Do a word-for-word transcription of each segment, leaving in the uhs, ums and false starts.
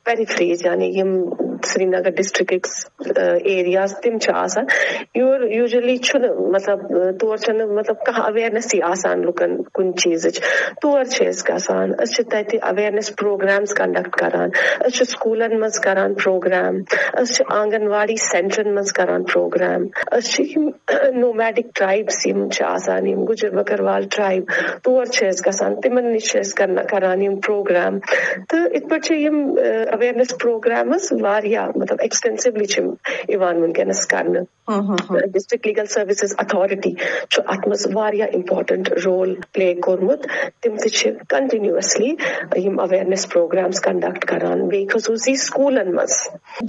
پیریفریز، یعنی یِم Srinagar districts areas تِم چھِ آسان، یور یوٗجولی چھُنہٕ، مطلب، تور چھَنہٕ، مطلب، کانٛہہ اویرنیسٕے آسان لُکن کُنہِ چیٖزٕچ۔ تور چھِ أسۍ گژھان، أسۍ چھِ تَتہِ اویرنیس پروگرامز کنڈکٹ کران، أسۍ چھِ سکوٗلن منٛز کران پروگرام، أسۍ چھِ آنگن واڑی سینٹرن منٛز کران پروگرام، أسۍ چھِ یِم نومیڈک ٹرایبس یِم چھِ آسان، یِم گُجر بکروال ٹرایب، تور چھِ أسۍ گژھان، تِمن نِش چھِ أسۍ کرنا-، کران یِم پروگرام۔ تہٕ یِتھ پٲٹھۍ چھِ یِم اویرنیس پروگرامز واریاہ، مطلب، ایکسٹینسولی چھِ یِوان وٕنکیٚنس کرنہٕ۔ ڈسٹرکٹ لیگل سروسز اتھارٹی چھُ اتھ منٛز واریاہ امپورٹنٹ رول پلے کوٚرمُت۔ تِم تہِ چھِ کنٹینیوسلی یِم اویرنیس پروگرامز کنڈکٹ کران، بیٚیہِ خصوٗصی سکوٗلن منٛز۔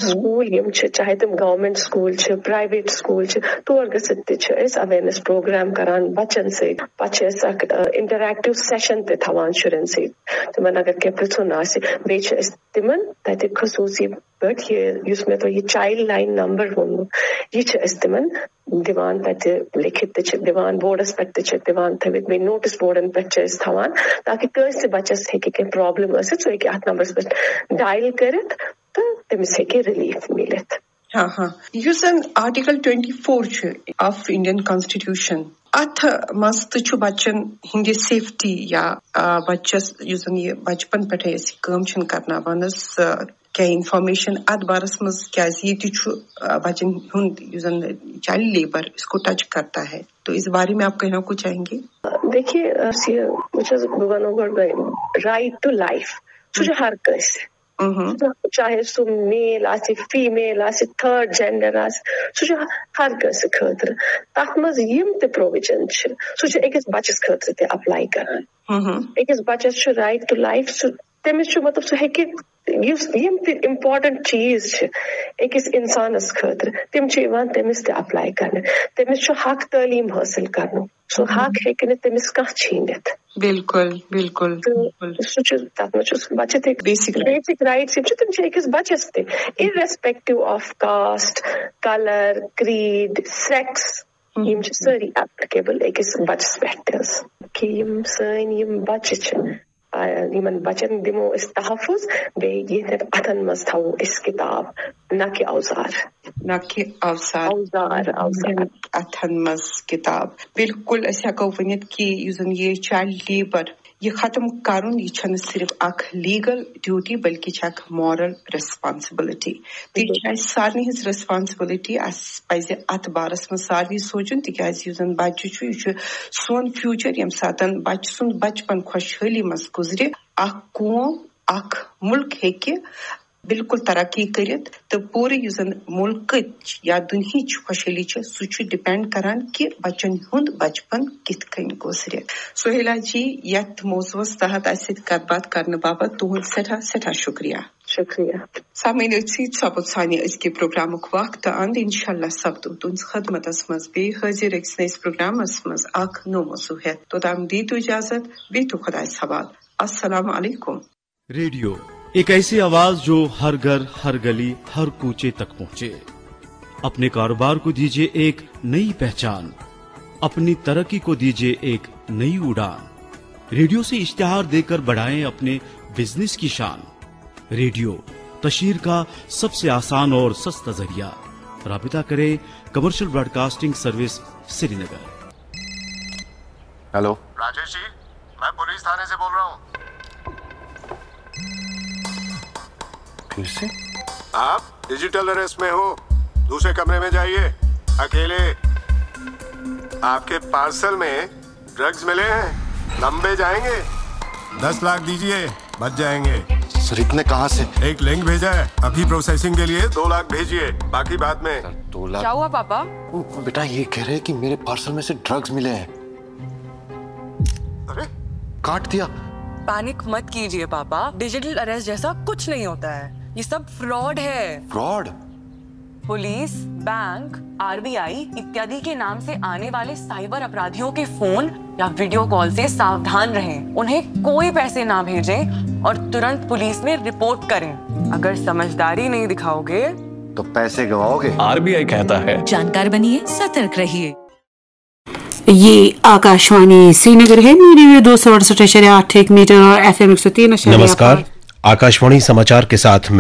سکوٗل یِم چھِ، چاہے تِم گورمنٹ سکوٗل چھِ، پرایویٹ سکوٗل چھِ، تور گٔژھِتھ تہِ چھِ أسۍ اویرنیس پروگرام کران بچن سۭتۍ۔ پتہٕ چھِ أسۍ اکھ انٹریکٹیو سیشن تہِ تھاوان شُرٮ۪ن سۭتۍ، تِمن اگر کینٛہہ پرژھُن آسہِ، بیٚیہِ چھِ أسۍ تِمن تتہِ خصوٗصی پٲٹھۍ یہِ، یُس مےٚ تۄہہِ یہِ چایلڈ لائن نمبر ووٚنمُت، یہِ چھِ أسۍ تِمن دِوان تتہِ لیکھِتھ تہِ چھِ دِوان، بورڈس پٮ۪ٹھ تہِ چھِ دِوان تھٲوِتھ، بیٚیہِ نوٹس بورڈن پٮ۪ٹھ چھِ أسۍ تھاوان، تاکہِ کٲنٛسہِ بچس ہیٚکہِ کینٛہہ پرابلم ٲسِتھ، سُہ ہیٚکہِ اتھ نمبرس پٮ۪ٹھ ڈایل کٔرِتھ تہٕ تٔمِس ہیٚکہِ ریلیف مِلِتھ۔ ہاں ہاں، یُس زن آرٹیکل ٹوینٹی فور چھُ آف انڈین کانسٹیٹیوشن، اتھ منٛز تہِ چھُ بچن ہٕنٛدِ سیفٹی یا، آ، بچس، یُس زن یہِ بچپن پٮ۪ٹھے أسۍ یہِ کٲم چھِن کرناوان حظ، آ، کیٛاہ انفارمیشن اتھ بارس منٛز، کیٛازِ ییٚتہِ چھُ، آ، بچن ہُنٛد یُس زن چائلڈ لیبر اس کو ٹچ کرتا ہے، تو اس بارے میں آپ کہنا کچھ چاہیں گے؟ دیکھیے، أسۍ یہِ، بہٕ چھَس، بہٕ وَنو گۄڈٕ right to life، سُہ چھُ ہر کٲنٛسہِ۔ چاہے سُہ میل آسہِ، فیمیل آسہِ، تھٲرڈ جینڈر آسہِ، سُہ چھُ ہر کٲنٛسہِ خٲطرٕ۔ تَتھ منٛز یِم تہِ پروویجن چھِ، سُہ چھُ أکِس بَچَس خٲطرٕ تہِ اپلاے کران۔ أکِس بَچَس چھُ right to life، سُہ، تٔمِس چھُ، مطلب، سُہ ہیٚکہِ، یُس، یِم تہِ امپورٹنٹ چیٖز چھِ أکِس اِنسانَس خٲطرٕ، تِم چھِ یِوان تٔمِس تہِ اپلاے کرنہٕ۔ تٔمِس چھُ حق تعلیٖم حٲصِل کرنُک، سُہ حق ہیٚکہِ نہٕ تٔمِس کانٛہہ چھیٖنِتھ۔ بِلکُل، بِلکُل، تہٕ بِلکُل۔ سُہ چھُ، تَتھ منٛز چھُ سُہ بَچَس تہِ بیسک رایٹ۔ بیسک رایٹٕس یِم چھِ، تِم چھِ أکِس بَچَس تہِ، irrespective of caste, colour, creed, sex۔ یِم چھِ سٲری ایپلِکیبل أکِس بَچَس پٮ۪ٹھ تہِ حظ، کہِ یِم سٲنۍ یِم بَچہٕ چھِ، آ، یِمن بَچَن دِمو أسۍ تحفظ، بیٚیہِ یِہنٛدٮ۪ن اَتھن منٛز تھاوو أسۍ کِتاب، نہ کہِ اوزار۔ نہ کہِ اوزار۔ اوزار، اوزار۔ اَتھن منٛز کِتاب۔ بِلکُل، أسۍ ہٮ۪کو ؤنِتھ کہِ یُس زَن یہِ چایلڈ لیبر، یہِ ختم کَرُن، یہِ چھَنہٕ صرف اکھ لیگل ڈیوٹی، بلکہِ چھِ اکھ مارل ریسپانسبلٹی۔ تہٕ یہِ چھِ اَسہِ سارنٕے ہٕنٛز ریسپانسبلٹی۔ اَسہِ پَزِ اَتھ بارَس منٛز سارنٕے سونٛچُن، تِکیٛازِ یُس زَن بَچہٕ چھُ، یہِ چھُ سون فیوٗچر۔ ییٚمہِ ساتَن بَچہٕ سُنٛد بَچپَن خۄشحٲلی منٛز گُزرِ، اکھ قوم، اکھ مُلک ہیٚکہِ بِلکُل ترقی کٔرِتھ، تہٕ پوٗرٕ یُس زَن مُلکٕچ یا دُنہِچ خۄشحٲلی چھِ، سُہ چھُ ڈِپینڈ کران کہِ بَچَن ہُنٛد بَچپَن کِتھ کٔنۍ گُزرِ۔ سہیلا جی، یَتھ موضوعس تحت اَسہِ سۭتۍ کَتھ باتھ کرنہٕ باپتھ تُہُنٛد سٮ۪ٹھاہ، سٮ۪ٹھاہ شُکریہ۔ شُکریہ۔ سامعیٖن، أتھۍ سۭتۍ سپُد سانہِ أزکہِ پروگرامُک وقت تہٕ اند۔ انشاءاللہ سپدو تُہنٛز خدمتس منٛز بیٚیہِ حٲضِر أکِس نٔیِس پروگرامس منٛز اکھ نوٚو موضوع ہٮ۪تھ۔ توٚتام دِیِو اجازت، بِہِو خۄدایس حوال۔ السلام علیکم۔ ریڈیو، ایک ایسی آواز جو ہر گھر، ہر گلی، ہر کوچے تک پہنچے۔ اپنے کاروبار کو دیجیے ایک نئی پہچان، اپنی ترقی کو دیجیے ایک نئی اڑان۔ ریڈیو سے اشتہار دیکر بڑھائیں اپنے بزنس کی شان۔ ریڈیو، تشہیر کا سب سے آسان اور سستا ذریعہ۔ رابطہ کریں کمرشل براڈکاسٹنگ سروس، سری نگر۔ ہیلو۔ راجیش جی، میں پولیس تھانے سے بول رہا ہوں۔ پھر سے؟ آپ ڈیجیٹل اریسٹ میں ہو، دوسرے کمرے میں جائیے، اکیلے۔ آپ کے پارسل میں ڈرگز ملے ہیں، لمبے جائیں گے۔ دس لاکھ دیجیے، بچ جائیں گے۔ سر، اتنے کہاں سے؟ ایک لنک بھیجا ہے، ابھی پروسیسنگ کے لیے دو لاکھ بھیجیے، باقی بعد میں۔ سر، دو لاکھ؟ کیا ہوا پاپا؟ وہ بیٹا یہ کہہ رہے ہیں کہ میرے پارسل میں سے ڈرگز ملے ہیں۔ ارے؟ کاٹ دیا۔ पैनिक मत कीजिए पापा, डिजिटल अरेस्ट जैसा कुछ नहीं होता है। ये सब फ्रॉड है। फ्रॉड? पुलिस, बैंक, आरबीआई इत्यादि के नाम से आने वाले साइबर अपराधियों के फोन या वीडियो कॉल से सावधान रहें। उन्हें कोई पैसे ना भेजें और तुरंत पुलिस में रिपोर्ट करें। अगर समझदारी नहीं दिखाओगे तो पैसे गवाओगे। आरबीआई कहता है, जानकार बनिए, सतर्क रहिए। ये आकाशवाणी श्रीनगर है, मीडियम वेव दो सौ अड़सठ इशारे आठ एक मीटर और एफएम एक सौ तीन इशारे नमस्कार, आठ। आकाशवाणी समाचार के साथ मैं